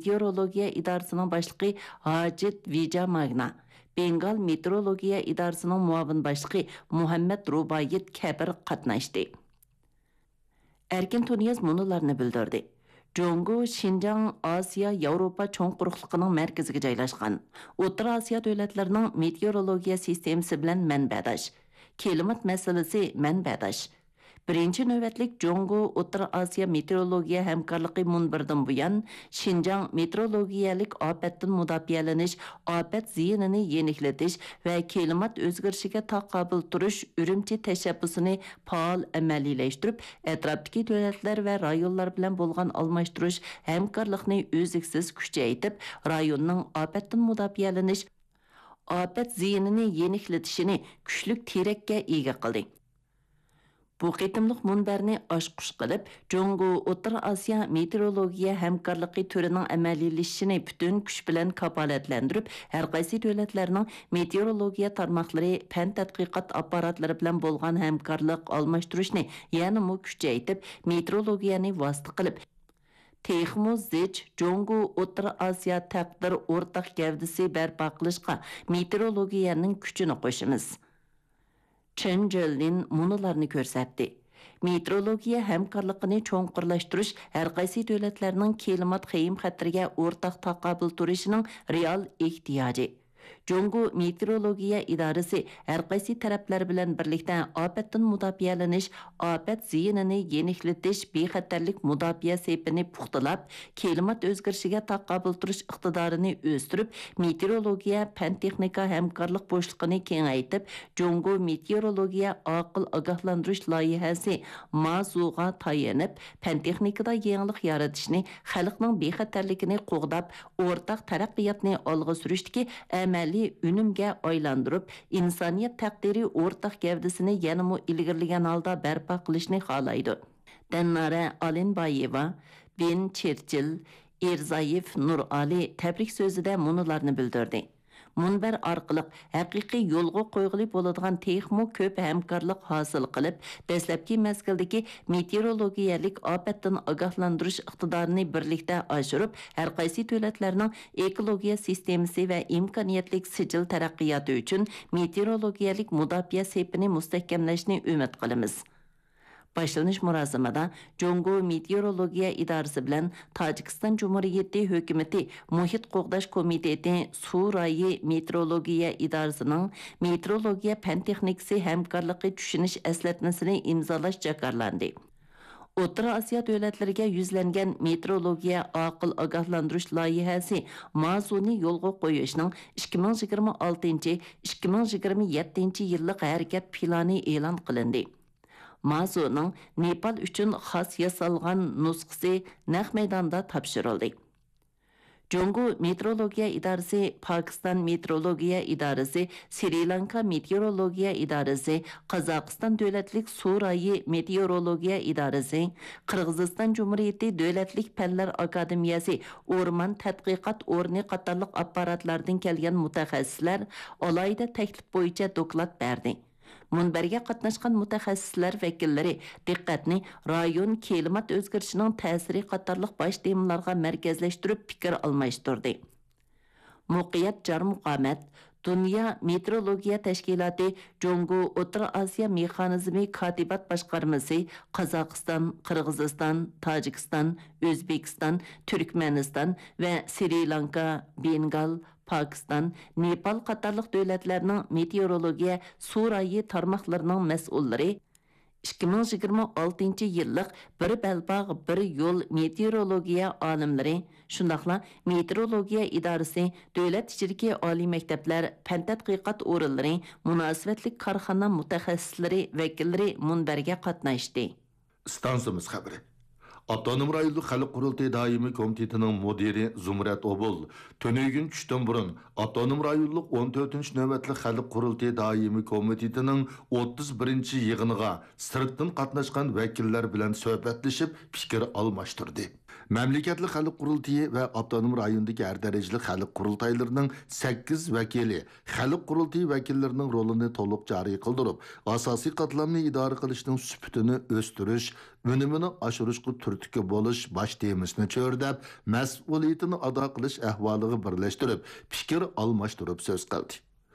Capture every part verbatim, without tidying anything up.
مېتېئورولوگىيە ئىدارىسىنىڭ باشلىقى ھاجىت ۋىجاماگنا، بېنگال مېتېئورولوگىيە ئىدارىسىنىڭ مۇئاۋىن باشلىقى مۇھەممەد رۇبايىت كەبىر قاتناشتى. ئەركىن تۇنىياز مۇنۇلارنى بىلدۈردى: جۇڭگو شىنجاڭ ئاسىيا ياۋروپا چوڭ قۇرۇقلۇقىنىڭ مەركىزىگە جايلاشقان. ئوتتۇرا ئاسىيا دۆلەتلىرىنىڭ مېتېئورولوگىيە سىستېمىسى بىلەن مەنبەداش. كىلىمات مەسىلىسى مەنبەداش. بىرىنچى نۆۋەتلىك جۇڭگو ئوتتۇرا ئاسىيا مېتېئورولوگىيە ھەمكارلىقى مۇنبىرىدىن بۇيان، شىنجاڭ مېتېئورولوگىيەلىك ئاپەتتىن مۇداپىئەلىنىش، ئاپەت زىيىنىنى يېنىكلىتىش ۋە كىلىمات ئۆزگىرىشىگە تاقابىل تۇرۇش ئۈرۈمچى تەشەببۇسىنى پائال ئەمەلىيلەشتۈرۈپ، ئەتراپتىكى دۆلەتلەر ۋە رايونلار بىلەن بولغان ئالماشتۇرۇش ھەمكارلىقنى ئۈزلۈكسىز كۈچەيتىپ، رايوننىڭ ئاپەتتىن مۇداپىئەلىنىش، ئاپەت زىيىنىنى يېنىكلىتىشىنى كۈچلۈك تىرەككە ئىگە قىلدى. بۇ قېتىملىق مۇنبەرنى ئاچقۇچ قىلىپ، جۇڭگو ئوتتۇرا ئاسىيا مېتېئورولوگىيە ھەمكارلىقى تۈرىنىڭ ئەمەلىيلىشىشىنى پۈتۈن كۈچ بىلەن كاپالەتلەندۈرۈپ، ھەرقايسى دۆلەتلەرنىڭ مېتېئورولوگىيە تارماقلىرى، پەن تەتقىقات ئاپپاراتلىرى بىلەن بولغان ھەمكارلىق ئالماشتۇرۇشنى يەنىمۇ كۈچەيتىپ، مېتېئورولوگىيەنى ۋاسىتە قىلىپ، تېخىمۇ زىچ جۇڭگو ئوتتۇرا ئاسىيا تەقدىر ئورتاق گەۋدىسى بەرپا قىلىشقا مېتېئورولوگىيەنىڭ كۈچىنى قوشىمىز. چېن جېللىن مۇنۇلارنى كۆرسەتتى: مېتېئورولوگىيە ھەمكارلىقىنى چوڭقۇرلاشتۇرۇش ھەرقايسى دۆلەتلەرنىڭ كىلىمات خېيىم خەتىرىگە ئورتاق تاقابىل تۇرۇشىنىڭ رېئال ئېھتىياجى. جۇڭگو مېتېئورولوگىيە ئىدارىسى ھەرقايسى تەرەپلەر بىلەن بىرلىكتە ئاپەتتىن مۇداپىئەلىنىش، ئاپەت زىيىنىنى يېنىكلىتىش بىخەتەرلىك مۇداپىئە سېپىنى پۇختىلاپ، كىلىمات ئۆزگىرىشىگە تاقابىل تۇرۇش ئىقتىدارىنى ئۆستۈرۈپ، مېتېئورولوگىيە پەن-تېخنىكا ھەمكارلىق بوشلۇقىنى كېڭەيتىپ، جۇڭگو مېتېئورولوگىيە ئاقىل ئاگاھلاندۇرۇش لايىھەسى مازۇغا تايىنىپ، پەن-تېخنىكىدا يېڭىلىق يارىتىشنى، خەلقنىڭ بىخەتەرلىكىنى قوغداپ، ئورتاق تەرەققىياتنى ئالغا سۈرۈشتىكى ئەمەلىي ئۈنۈمگە ئايلاندۇرۇپ، ئىنسانىيەت تەقدىرى ئورتاق گەۋدىسىنى يەنىمۇ ئىلگىرىلىگەن ھالدا بەرپا قىلىشنى خالايدۇ. دەننارە ئالىنبايېۋا، بېن چېرچىل، ئىرزايېف نۇرئالى تەبرىك سۆزىدە مۇنۇلارنى بىلدۈردى: مۇنبەر ئارقىلىق ھەقىقىي يولغا قويغىلى بولىدىغان تېخىمۇ كۆپ ھەمكارلىق ھاسىل قىلىپ، دەسلەپكى مەزگىلدىكى مېتېئورولوگىيەلىك ئاپەتتىن ئاگاھلاندۇرۇش ئىقتىدارىنى بىرلىكتە ئاشۇرۇپ، ھەرقايسى دۆلەتلەرنىڭ ئېكولوگىيە سىستېمىسى ۋە ئىمكانىيەتلىك سىجىل تەرەققىياتى ئۈچۈن مېتېئورولوگىيەلىك مۇداپىئە سېپىنى مۇستەھكەملەشنى ئۈمىد قىلىمىز. باشلىنىش مۇراسىمىدا جۇڭگو مېتېئورولوگىيە ئىدارىسى بىلەن تاجىكىستان جۇمھۇرىيىتى ھۆكۈمىتى مۇھىت قوغداش كومىتېتى سۇ رايى مېتېئورولوگىيە ئىدارىسىنىڭ مېتېئورولوگىيە پەن-تېخنىكىسى ھەمكارلىقى چۈشىنىش ئەسلەتمىسىنى ئىمزالاش جاكارلاندى. ئوتتۇرا ئاسىيا دۆلەتلىرىگە يۈزلەنگەن مېتېئورولوگىيە ئاقىل ئاگاھلاندۇرۇش لايىھەسى مازۇنى يولغا قويۇشنىڭ ئىككى مىڭ يىگىرمە ئالتىنچى، ئىككى مىڭ يىگىرمە يەتتىنچى يىللىق ھەرىكەت پىلانى ئېلان قىلىندى. مازۇنىڭ نېپال ئۈچۈن خاس ياسالغان نۇسخىسى نەق مەيداندا تاپشۇرۇلدى. جۇڭگو مېتېئورولوگىيە ئىدارىسى، پاكىستان مېتېئورولوگىيە ئىدارىسى، سرى لانكا مېتېئورولوگىيە ئىدارىسى، قازاقىستان دۆلەتلىك سۇ رايى مېتېئورولوگىيە ئىدارىسى، قىرغىزىستان جۇمھۇرىيىتى دۆلەتلىك پەنلەر ئاكادېمىيەسى ئورمان تەتقىقات ئورنى قاتارلىق ئاپپاراتلاردىن كەلگەن مۇتەخەسسىسلەر ئالاھىدە تەكلىپ بويىچە دوكلات بەردى. مۇنبەرگە قاتناشقان مۇتەخەسسىسلەر ۋەكىللىرى دىققەتنى رايون كىلىمات ئۆزگىرىشىنىڭ تەسىرى قاتارلىق باش تېمىلارغا مەركەزلەشتۈرۈپ پىكىر ئالماشتۇردى. مۇقىيەت جارمۇقامەت، دۇنيا مېتېئورولوگىيە تەشكىلاتى جۇڭگو ئوتتۇرا ئاسىيا مېخانىزمى كاتىبات باشقارمىسى، قازاقىستان، قىرغىزىستان، تاجىكىستان، ئۆزبېكىستان، تۈركمەنىستان ۋە سرى لانكا، بېنگال، پاكىستان، نېپال قاتارلىق دۆلەتلەرنىڭ مېتېئورولوگىيە سۇ رايى تارماقلىرىنىڭ مەسئۇللىرى، ئىككى مىڭ يىگىرمە ئالتىنچى يىللىق بىر بەلباغ، بىر يول مېتېئورولوگىيە ئالىملىرى، شۇنداقلا مېتېئورولوگىيە ئىدارىسى، دۆلەت ئىچىدىكى ئالىي مەكتەپلەر، پەن تەتقىقات ئورۇنلىرى، مۇناسىۋەتلىك كارخانا مۇتەخەسسىسلىرى ۋەكىللىرى مۇنبەرگە قاتناشتى. ئىستانسىمىز خەۋىرى. ئاپتونوم رايونلۇق خەلق قۇرۇلتىيى دائىمىي كومىتېتىنىڭ مۇدىرى زۇمرەت ئوبۇل تۈنۈگۈن چۈشتىن بۇرۇن ئاپتونوم رايونلۇق ئون تۆتىنچى نۆۋەتلىك خەلق قۇرۇلتىيى دائىمىي كومىتېتىنىڭ ئوتتۇز بىرىنچى يىغىنىغا سىرتتىن قاتناشقان ۋەكىللەر بىلەن سۆھبەتلىشىپ پىكىر ئالماشتۇردى. مەملىكەتلىك خەلق قۇرۇلتىيى ۋە ئاپتونوم رايوندىكى ھەر دەرىجىلىك خەلق قۇرۇلتايلىرىنىڭ سەككىز ۋەكىلى خەلق قۇرۇلتىيى ۋەكىللىرىنىڭ رولىنى تولۇق جارى قىلدۇرۇپ، ئاساسىي قاتلامنى ئىدارە قىلىشنىڭ سۈپىتىنى ئۆستۈرۈش، ئۈنۈمىنى ئاشۇرۇشقا تۈرتكە بولۇش باش تېمىسىنى چۆرىدەپ، مەسئۇلىيىتىنى ئادا قىلىش ئەھۋالىغا بىرلەشتۈرۈپ، پىكىر ئالماشتۇرۇپ سۆز قىلدى.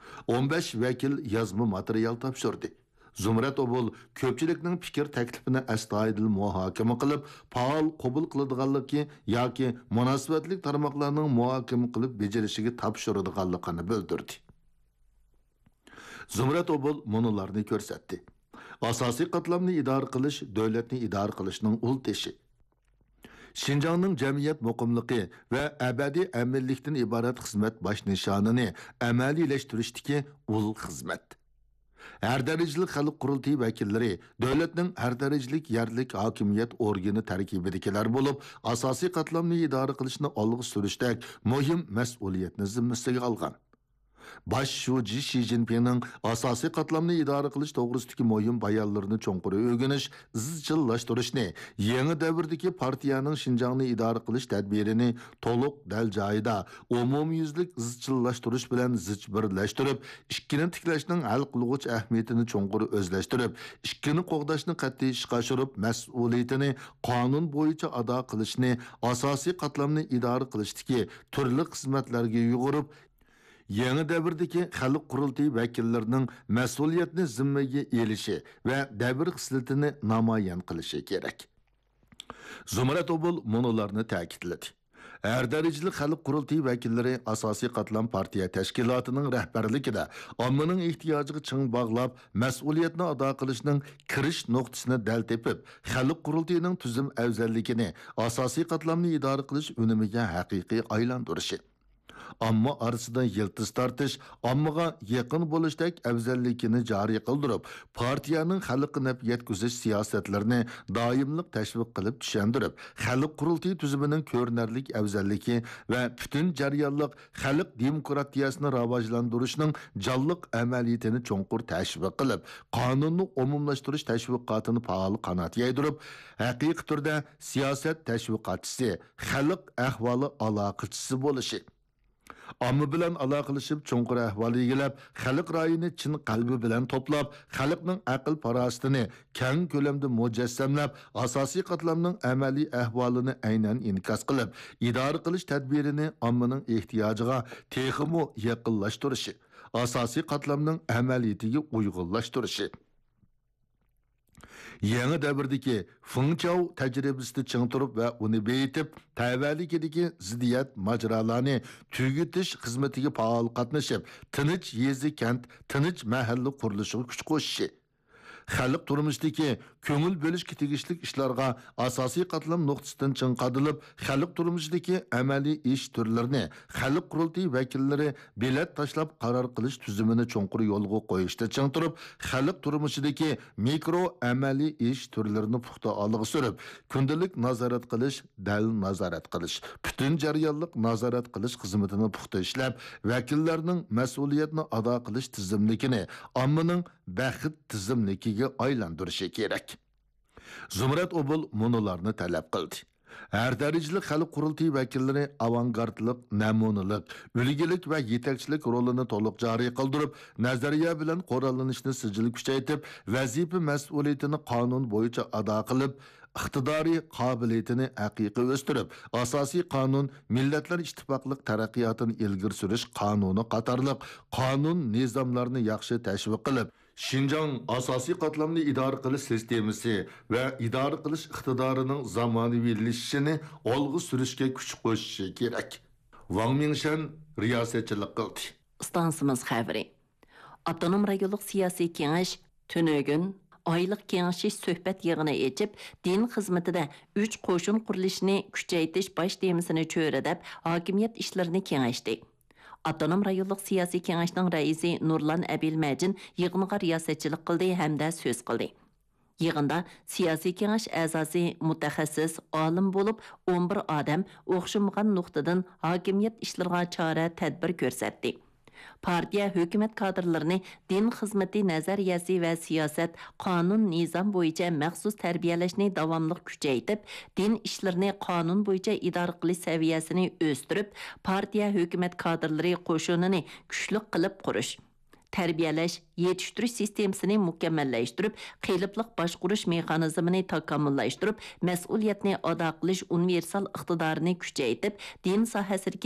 ئون بەش ۋەكىل يازما ماتېرىيال تاپشۇردى. زۇمرەت ئوبۇل كۆپچىلىكنىڭ پىكىر تەكلىپىنى ئەستايىدىل مۇھاكىمە قىلىپ، پائال قوبۇل قىلىدىغانلىقى ياكى مۇناسىۋەتلىك تارماقلارنىڭ مۇھاكىمە قىلىپ بېجىرىشىگە تاپشۇرىدىغانلىقىنى بىلدۈردى. زۇمرەت ئوبۇل مۇنۇلارنى كۆرسەتتى. ئاساسىي قاتلامنى ئىدارە قىلىش دۆلەتنى ئىدارە قىلىشنىڭ ئۇل تېشى. شىنجاڭنىڭ جەمئىيەت مۇقىملىقى ۋە ئەبەدىي ئەمىنلىكتىن ئىبارەت خىزمەت باش نىشانىنى ئەمەلىيلەشتۈرۈشتىكى ئۇل خىزمەت. ھەر دەرىجىلىك خەلق قۇرۇلتىيى ۋەكىللىرى دۆلەتنىڭ ھەر دەرىجىلىك يەرلىك ھاكىمىيەت ئورگىنى تەركىبىدىكىلەر بولۇپ، ئاساسىي قاتلامنى ئىدارە قىلىشنى ئالغا سۈرۈشتەك مۇھىم مەسئۇلىيەتنى زىممىسىگە ئالغان. باش شۇجى شى جىنپىڭنىڭ ئاساسىي قاتلامنى ئىدارە قىلىش توغرىسىدىكى مۇھىم بايانلىرىنى چوڭقۇر ئۆگىنىش، ئىزچىللاشتۇرۇشنى، يېڭى دەۋردىكى پارتىيەنىڭ شىنجاڭنى ئىدارە قىلىش تەدبىرىنى تولۇق، دەل جايىدا، ئومۇميۈزلۈك ئىزچىللاشتۇرۇش بىلەن زىچ بىرلەشتۈرۈپ، ئىككىنى تىكلەشنىڭ ھەل قىلغۇچ ئەھمىيىتىنى چوڭقۇر ئۆزلەشتۈرۈپ، ئىككىنى قوغداشنى قەتئىي ئىشقا ئاشۇرۇپ، مەسئۇلىيىتىنى قانۇن بويىچە ئادا قىلىشنى، ئاساسىي قاتلامنى ئىدارە قىلىشتىكى تۈرلۈك خىزمەتلەرگە يۇغۇرۇپ، يېڭى دەۋردىكى خەلق قۇرۇلتىيى ۋەكىللىرىنىڭ مەسئۇلىيەتنى زىممىگە ئېلىشى ۋە دەۋر خىسلىتىنى نامايان قىلىشى كېرەك. زۇمرەت ئوبۇل مۇنۇلارنى تەكىتلىدى. ھەر دەرىجىلىك خەلق قۇرۇلتىيى ۋەكىللىرى ئاساسىي قاتلام پارتىيە تەشكىلاتىنىڭ رەھبەرلىكىدە ئاممىنىڭ ئېھتىياجىغا چىڭ باغلاپ، مەسئۇلىيەتنى ئادا قىلىشنىڭ كىرىش نۇقتىسىنى دەل تېپىپ، خەلق قۇرۇلتىيىنىڭ تۈزۈم ئەۋزەللىكىنى، ئاساسىي قاتلامنى ئىدارە قىلىش ئۈنۈمىگە ھەقىقىي ئايلاندۇرۇشى. ئامما ئارىسىدا يىلتىز تارتىش، ئاممىغا يېقىن بولۇشتەك ئەۋزەللىكىنى جارى قىلدۇرۇپ، پارتىيەنىڭ خەلققە نەپ يەتكۈزۈش سىياسەتلىرىنى دائىملىق تەشۋىق قىلىپ چۈشەندۈرۈپ، خەلق قۇرۇلتىيى تۈزۈمىنىڭ كۆرۈنەرلىك ئەۋزەللىكى ۋە پۈتۈن جەريانلىق خەلق دېموكراتىيەسىنى راۋاجلاندۇرۇشنىڭ جانلىق ئەمەلىيىتىنى چوڭقۇر تەشۋىق قىلىپ، قانۇننى ئومۇملاشتۇرۇش تەشۋىقاتىنى پائال قانات يايدۇرۇپ، ھەقىقىي تۈردە سىياسەت تەشۋىقاتچىسى، خەلق ئەھۋالى ئالاقىچىسى بولۇشى. ئامما بىلەن ئالاقىلىشىپ، چوڭقۇر ئەھۋال ئىگىلەپ، خەلق رايىنى چىن قەلبى بىلەن توپلاپ، خەلقنىڭ ئەقىل-پاراسىتىنى كەڭ كۆلەمدە مۇجەسسەملەپ، ئاساسىي قاتلامنىڭ ئەمەلىي ئەھۋالىنى ئەينەن ئىنكاس قىلىپ، ئىدارە قىلىش تەدبىرىنى ئاممىنىڭ ئېھتىياجىغا تېخىمۇ يېقىنلاشتۇرۇشى، ئاساسىي قاتلامنىڭ ئەمەلىيىتىگە ئۇيغۇنلاشتۇرۇشى. يېڭى دەۋردىكى فېڭچاۋ تەجرىبىسىدە چىڭ تۇرۇپ ۋە ئۇنى بېيىتىپ، تەۋەلىكىدىكى زىددىيەت ماجىرالارنى تۈگىتىش خىزمىتىگە پائال قاتنىشىپ، تىنچ يېزا، كەنت، تىنچ مەھەللە قۇرۇلۇشىغا كۈچ قوشۇشى. خەلق تۇرمۇشىدىكى كۆڭۈل بۆلۈشكە تېگىشلىك ئىشلارغا ئاساسىي قاتلام نۇقتىسىدىن چىڭ قادىلىپ، خەلق تۇرمۇشىدىكى ئەمەلىي ئىش تۈرلىرىنى خەلق قۇرۇلتىيى ۋەكىللىرى بېلەت تاشلاپ قارار قىلىش تۈزۈمىنى چوڭقۇر يولغا قويۇشتا چىڭ تۇرۇپ، خەلق تۇرمۇشىدىكى مىكرو ئەمەلىي ئىش تۈرلىرىنى پۇختا ئالغا سۈرۈپ، كۈندىلىك نازارەت قىلىش، دەل نازارەت قىلىش، پۈتۈن جەريانلىق نازارەت قىلىش خىزمىتىنى پۇختا ئىشلەپ، ۋەكىللەرنىڭ مەسئۇلىيەتنى ئادا قىلىش تىزىملىكىنى ئاممىنىڭ بەخت تىزىملىكىگە ئايلاندۇرۇشى كېرەك. زۇمرەت ئوبۇل مۇنۇلارنى تەلەپ قىلدى. ھەر دەرىجىلىك خەلق قۇرۇلتىيى ۋەكىللىرى ئاۋانگارتلىق، نەمۇنىلىك، ئۈلگىلىك ۋە يېتەكچىلىك رولىنى تولۇق جارى قىلدۇرۇپ، نەزەرىيە بىلەن قوراللىنىشنى سىجىل كۈچەيتىپ، ۋەزىپە مەسئۇلىيىتىنى قانۇن بويىچە ئادا قىلىپ، ئىقتىدارى، قابىلىيىتىنى ھەقىقىي ئۆستۈرۈپ، ئاساسىي قانۇن، مىللەتلەر ئىتتىپاقلىق تەرەققىياتىنى ئىلگىرى سۈرۈش قانۇنى قاتارلىق قانۇن، نىزاملارنى ياخشى تەشۋىق قىلىپ، شىنجاڭ ئاساسىي قاتلامنى ئىدارە قىلىش سىستېمىسى ۋە ئىدارە قىلىش ئىقتىدارىنىڭ زامانىۋىلىشىشىنى ئالغا سۈرۈشكە كۈچ قوشۇشى كېرەك. ۋاڭ مىڭشەن رىياسەتچىلىك قىلدى. ئىستانسىمىز خەۋىرى. ئاپتونوم رايونلۇق سىياسىي كېڭەش تۈنۈگۈن ئايلىق كېڭىشىش سۆھبەت يىغىنى ئېچىپ، دىن خىزمىتىدە ئۈچ قوشۇن قۇرۇلۇشىنى كۈچەيتىش باش تېمىسىنى چۆرىدەپ، ھاكىمىيەت ئىشلىرىنى كېڭەشتى. ئاپتونوم رايونلۇق سىياسىي كېڭەشنىڭ رەئىسى نۇرلان ئەبىلمەجىن يىغىنغا رىياسەتچىلىك قىلدى ھەمدە سۆز قىلدى. يىغىندا سىياسىي كېڭەش ئەزاسى مۇتەخەسسىس، ئالىم بولۇپ، ئون بىر ئادەم ئوخشىمىغان نۇقتىدىن ھاكىمىيەت ئىشلىرىغا چارە، تەدبىر كۆرسەتتى. پارتىيە، ھۆكۈمەت كادىرلىرىنى دىن خىزمىتى نەزەرىيەسى ۋە سىياسەت، قانۇن، نىزام بويىچە مەخسۇس تەربىيەلەشنى داۋاملىق كۈچەيتىپ، دىن ئىشلىرىنى قانۇن بويىچە ئىدارە قىلىش سەۋىيەسىنى ئۆستۈرۈپ، پارتىيە، ھۆكۈمەت كادىرلىرى قوشۇنىنى كۈچلۈك قىلىپ قۇرۇش، تەربىيەلەش، يېتىشتۈرۈش سىستېمىسىنى مۇكەممەللەشتۈرۈپ، قېلىپلىق باشقۇرۇش مېخانىزمىنى تاكامۇللاشتۇرۇپ، مەسئۇلىيەتنى ئادا قىلىش ئۇنىۋېرسال ئىقتىدارىنى كۈچەيتىپ، دىن ساھەسىدىكى